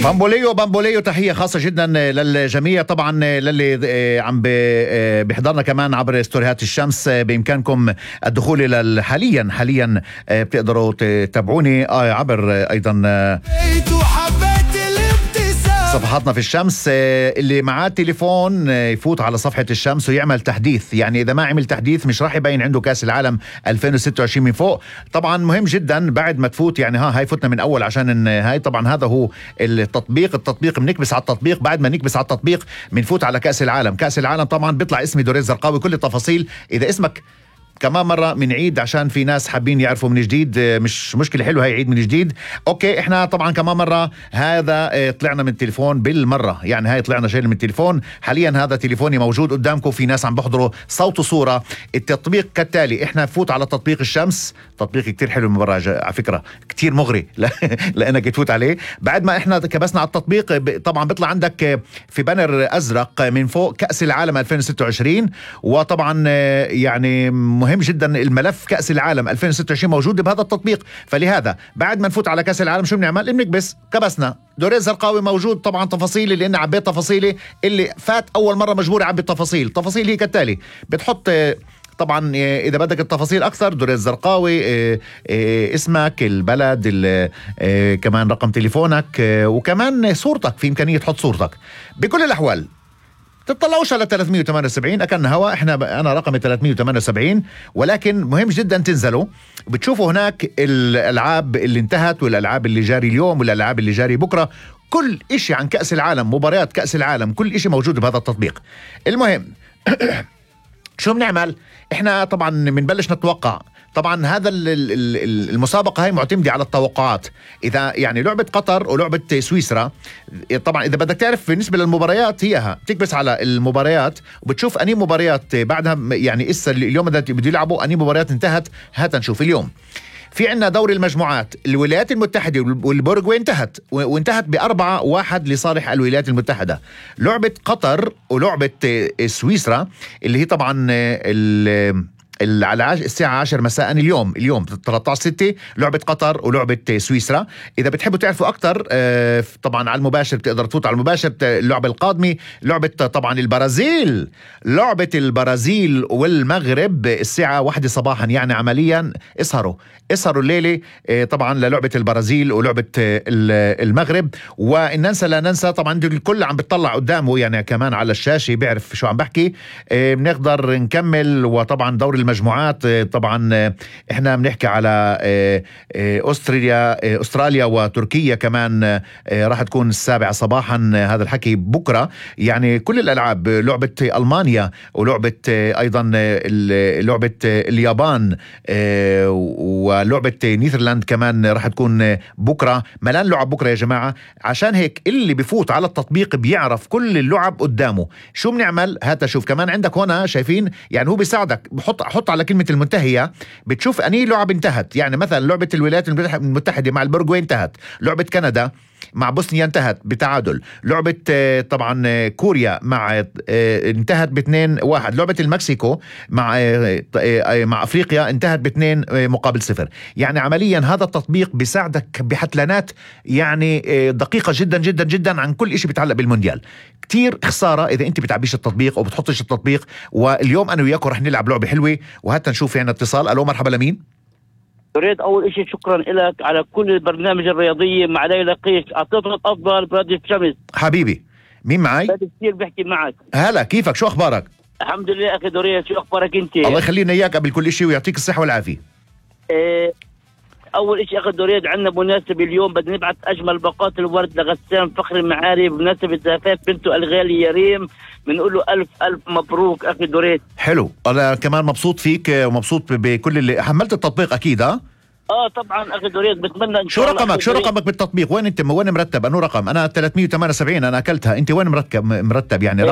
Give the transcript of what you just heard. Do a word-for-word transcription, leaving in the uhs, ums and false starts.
بامبوليو بامبوليو تحية خاصة جدا للجميع، طبعا للي عم بيحضرنا كمان عبر ستوريات الشمس. بإمكانكم الدخول إلى حاليا حاليا بتقدروا تتابعوني عبر أيضا صفحاتنا في الشمس. اللي معاه تليفون يفوت على صفحة الشمس ويعمل تحديث، يعني إذا ما عمل تحديث مش راح يبين عنده كأس العالم ألفين وستة وعشرين من فوق. طبعا مهم جدا بعد ما تفوت، يعني ها هاي فتنا من أول عشان هاي طبعا هذا هو التطبيق. التطبيق بنكبس على التطبيق، بعد ما نكبس على التطبيق بنفوت على كأس العالم. كأس العالم طبعا بيطلع اسمي دوريز زرقاوي، كل التفاصيل. إذا اسمك كمان مرة من عيد عشان في ناس حابين يعرفوا من جديد، مش مشكلة، حلو هاي عيد من جديد. اوكي احنا طبعا كمان مرة هذا طلعنا من التليفون بالمرة، يعني هاي طلعنا شيء من التليفون. حاليا هذا تليفوني موجود قدامكم، في ناس عم بحضروا صوت وصورة. التطبيق كالتالي، احنا نفوت على تطبيق الشمس، تطبيق كتير حلو المباراة على فكرة، كتير مغري لانك تفوت عليه. بعد ما احنا كبسنا على التطبيق طبعا بيطلع عندك في بانر ازرق من فوق كأس العالم ألفين وستة وعشرين، وطبعا يعني مهم جدا الملف كأس العالم ألفين وستة وعشرين موجود بهذا التطبيق. فلهذا بعد ما نفوت على كأس العالم شو بنعمل؟ بنكبس، كبسنا دوريز زرقاوي موجود. طبعا تفاصيلي لأن عبيت تفاصيلي، اللي فات أول مرة مجبور يعبي التفاصيل. تفاصيل هي كالتالي، بتحط طبعا إذا بدك التفاصيل أكثر دوريز زرقاوي، اسمك، البلد، كمان رقم تليفونك، وكمان صورتك، في إمكانية تحط صورتك. بكل الأحوال تطلعوش على ثلاثمية وثمانية وسبعين أكن هوا، احنا انا رقمي ثلاثمية وثمانية وسبعين، ولكن مهم جدا تنزلوا بتشوفوا هناك الالعاب اللي انتهت والالعاب اللي جاري اليوم والالعاب اللي جاري بكره، كل اشي عن كأس العالم، مباريات كأس العالم، كل اشي موجود بهذا التطبيق. المهم شو بنعمل؟ احنا طبعا بنبلش نتوقع. طبعا هذا المسابقة هاي معتمدة على التوقعات. إذا يعني لعبة قطر ولعبة سويسرا، طبعا إذا بدك تعرف بالنسبة للمباريات هيها تكبس على المباريات وبتشوف أني مباريات بعدها، يعني إسا اليوم بده يلعبوا أني مباريات انتهت. هاتا نشوف اليوم في عنا دوري المجموعات، الولايات المتحدة والبورغواي انتهت وانتهت بأربعة واحد لصالح الولايات المتحدة. لعبة قطر ولعبة سويسرا اللي هي طبعا على الساعة عشر مساء اليوم اليوم ثلاثة عشر ستة لعبة قطر ولعبة سويسرا. إذا بتحبوا تعرفوا أكتر طبعا على المباشر بتقدر تفوت على المباشر. اللعبة القادمة لعبة طبعا البرازيل، لعبة البرازيل والمغرب الساعة واحدة صباحا، يعني عمليا اسهروا اسهروا الليلة طبعا للعبة البرازيل ولعبة المغرب. وإن ننسى لا ننسى طبعا الكل عم بتطلع قدامه يعني كمان على الشاشة بيعرف شو عم بحكي. بنقدر نكمل. وطبعا دور المجموعات طبعا احنا بنحكي على أستراليا أستراليا وتركيا كمان راح تكون السابعة صباحا، هذا الحكي بكرة. يعني كل الألعاب، لعبة ألمانيا ولعبة أيضا لعبة اليابان ولعبة نيذرلاند كمان راح تكون بكرة. ملان لعب بكرة يا جماعة. عشان هيك اللي بيفوت على التطبيق بيعرف كل اللعب قدامه. شو بنعمل؟ هاتا شوف كمان عندك هنا شايفين، يعني هو بيساعدك. بحط حط على كلمة المنتهية بتشوف أني لعب انتهت. يعني مثلا لعبة الولايات المتحدة مع البورغواي انتهت، لعبة كندا مع بوسنيا انتهت بتعادل، لعبة طبعا كوريا مع انتهت باثنين واحد، لعبة المكسيكو مع مع أفريقيا انتهت باثنين مقابل صفر. يعني عمليا هذا التطبيق بيساعدك بحتلانات يعني دقيقة جدا جدا جدا عن كل إشي بيتعلق بالمونديال. كتير خسارة إذا أنت بتعبيش التطبيق أو بتحطش التطبيق. واليوم أنا وياكم رح نلعب لعبة حلوة، وهات نشوف يعني اتصال. ألو مرحبا، لمين؟ أريد أول إشي شكرا لك على كل البرنامج الرياضية مع ليلى قيس، أعطيتنا الأفضل برادة الشمس. حبيبي مين معي؟ كثير بحكي معك. هلا كيفك؟ شو أخبارك؟ الحمد لله أخي دوريس، شو أخبارك أنت؟ الله يخلينا إياك قبل كل شيء ويعطيك الصحة والعافية. إيه أول إشي أخي دوريس، عندنا مناسبة اليوم بدنا نبعث أجمل باقات الورد لغسان فخر المعاري بمناسبة زفاف بنته الغالي يريم. بنقول له ألف ألف مبروك أخي دوريس. حلو، أنا كمان مبسوط فيك ومبسوط بكل اللي حملت التطبيق أكيد. ها اه طبعا اخي دوريس، بتمنى ان شو شاء الله. رقمك شو رقمك بالتطبيق؟ وين انت وين مرتب؟ انو رقم؟ انا ثلاثمية وثمانية وسبعين انا اكلتها. انت وين مركب مرتب يعني؟